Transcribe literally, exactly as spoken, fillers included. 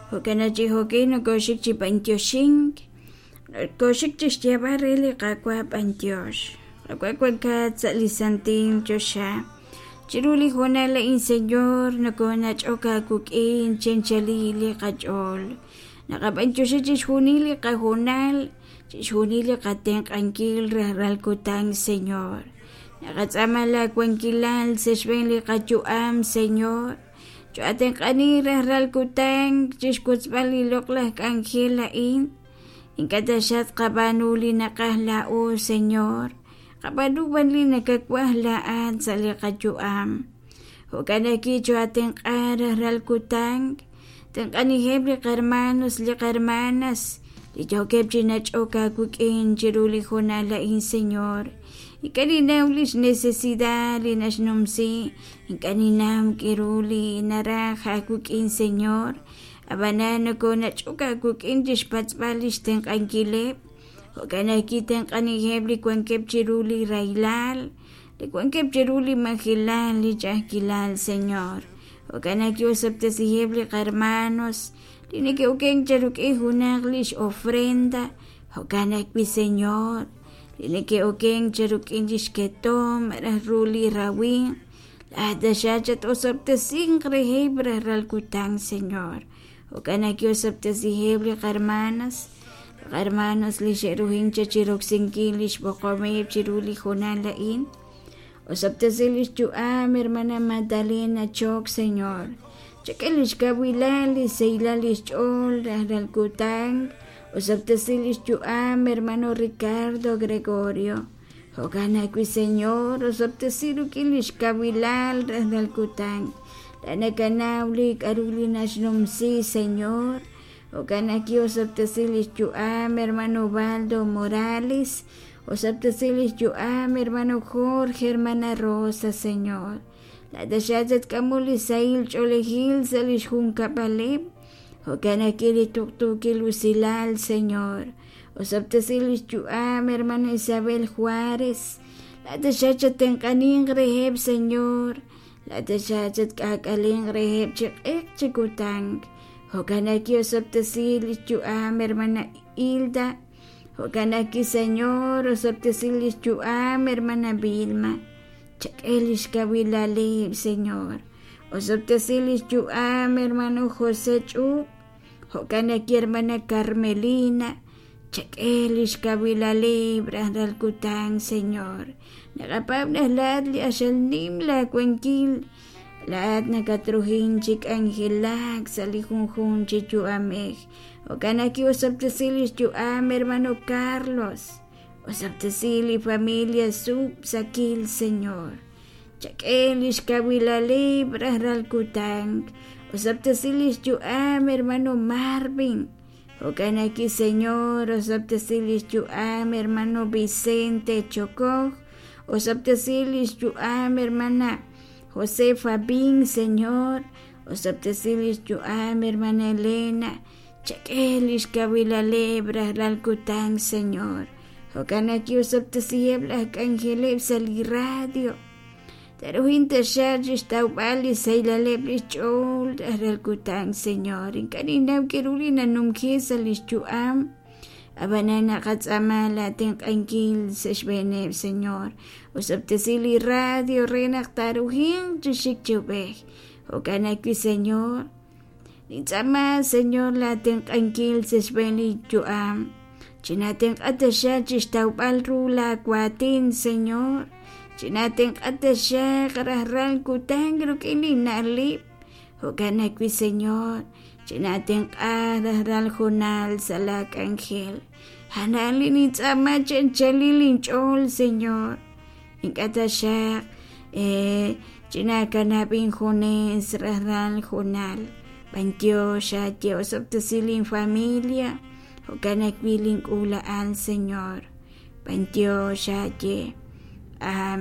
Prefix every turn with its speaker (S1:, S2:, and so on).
S1: Jo'kan naq chi jo'kin nokooxik chi b'antioxink, nokooxik chi xyeeb'al re li qaawa' b'antiox, qaawa' wankat sa' li santil choxa, chiru li hoonal a'in Señor nokoonach'ok aawik'in chi anchalil li qach'ool, naqab'antioxi chixjunil li qahoonal, chixjunil li qatenq'ankil rajlal kutan Señor, naqatz'aama laawankilal sa' xb'een li qayu'am Señor, cho'atenq'ani rajlal kutan chixwotzb'al li loq'laj k'anjel a'in, ink'a' taxaq tqab'aanu li naqaj laa'o Señor, qab'aanu b'an li nakawaj laa'at sa' li qayu'am, jo'kan ajwi' cho'atenq'a rajlal kutan, tenq'aniheb' li qarmanos li qarmanas li yookeb' chi nach'ok aawik'in chiru li hoonal a'in Señor, ink'a' ninnaw li xnecesidad li naxnumsi, ink'a' ninnaw k'aru li naraj aawik'in Señor, ab'anan nokoonach'ok aawik'in chi xpatz'b'al li xtenq'ankileb', jo'kan ajwi' tenq'aniheb' li wankeb' chiru li rahilal, li wankeb' chiru li majelal, li ch'a'ajkilal Señor, jo'kan ajwi' osob'tesiheb' li qarmanos li neke'okenk cheruk'in junaq li x-ofrenda, jo'kan ajwi' Señor, li neke'okenk cheruk'in li xketom malaj ru li rawimq, laa'at taxaq chat-osob'tesinq reheb' rajlal kutan Señor, jo'kan ajwi' osob'tesiheb' li qarmanas, li qarmanos li xe'ruhink chaq chi roksinkil li xb'oqomeb' chiru li hoonal a'in, osob'tesi li xyu'am hermana Magdalena Choc Señor, chak'e li xkawilal li xsahilal li xch'ool rajlal kutan, osob'tesi li xyu'am hermano Ricardo Gregorio, jo'kan ajwi' Señor, osob'tesi rik'in li xkawilal rajlal kutan, la nakanaw li k'aru li naxnumsi Señor, jo'kan ajwi' osob'tesi li xyu'am hermano Ubaldo Morales, osob'tesi li xyu'am hermano Jorge, hermana Rosa Señor, laa'at taxaq tatk'amu li sahil ch'oolejil sa' li xjunkab'aleb', jo'kan ajwi' li tuqtuukil usilal Señor, osob'tesi li xyu'am hermana Isabel Juárez, laa'at taxaq chatenq'aninq reheb' Señor, laa'at taxaq chatk'aak'alenq reheb' chi q'eq chi kutan, jo'kan ajwi' osob'tesi li xyu'am hermana Hilda, jo'kan ajwi' Señor, osob'tesi li xyu'am hermana Vilma, chak'e li xkawilaleb' Señor, osob'tesi li xyu'am hermano José Ch'ub', jo'kan ajwi' hermana Carmelina, chak'e li xkawilaleb' rajlal kutan Señor, naqapaab' naq laa'at li q'axal nim laawankil, laa'at nakatruhin chi k'anjelak sa' li junjunq chi yu'amej, jo'kan ajwi' osob'tesi li xyu'am hermano Carlos, osob'tesi li familia Sub Sakil Señor, chak'e li xkawilaleb' rajlal kutan, osob'tesi li xyu'am hermano Marvin, jo'kan ajwi' Señor, osob'tesi li xyu'am hermano Vicente Chokoj, osob'tesi li xyu'am hermana Josefa Bin Señor, osob'tesi li xyu'am hermana Elena, chak'e li xkawilaleb' rajlal kutan Señor, jo'kan ajwi' osob'tesiheb' laj k'anjeleb' sa' li radio, taruhin taxaq chi xtawb'al li xsahilaleb' li xch'ool rajlal kutan Señor, ink'a' ninnaw k'aru li nanumji sa' li xyu'am, ab'anan naqatz'aama laatenq'ankil sa' xb'eeneb' Señor, osob'tesi li radio re naq taaruhinq chi xik chi ub'ej, jo'kan ajwi' Señor, nintz'aama Señor laatenq'ankil sa' xb'een li yu'am, chinatenq'a taxaq chi xtawb'al ru laawaatin Señor, chinatenq'a taxaq rajlal kutan rik'in li na'leb', jo'kan ajwi' Señor, chinatenq'a rajlal hoonal sa' laak'anjel, a'an li nintz'aama chi anchalil inch'ool Señor, ink'a' taxaq chinakanab' injunes rajlal hoonal, b'antiox aaye osob'tesi linfamilia, jo'kan ajwi' link'uula'al Señor, b'antiox aaye, amén.